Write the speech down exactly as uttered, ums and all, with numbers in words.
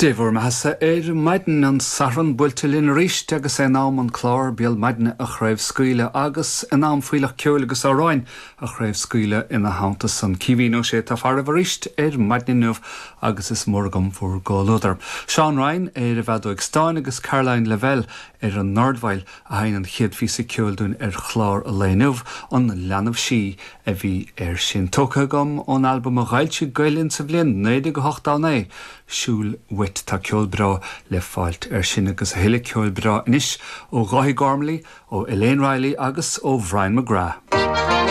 Dé bhur mbeatha ar maidin an Satharn buailte linn arís agus é in am an clár Béal Maidine a chraobhscaoileadh agus in am fuílleach ceoil agus amhráin a chraobhscaoileadh ina theannta san Caoimhín Ó Sé atá faraibh arís ar maidin inniu agus is mór agam bhur gcomhluadar. Seán Ryan ar an bhfeadóg stáin agus Caroline Lavelle ar an ndordveidhil a sheinn an chéad phíosa ceoil dúinn ar chlár an lae inniu an leanbh sí a bhí air sin tógtha agam ón albam a d'fhoilsigh Gael Linn sa bhliain naoi déag a hocht a naoi. Siúil Uait tá ceol breá le fáilt air sin agus a thuilleadh ceoil breá anois ó Dháithí Gormley, ó Elaine Riley agus ó Brian McGrath.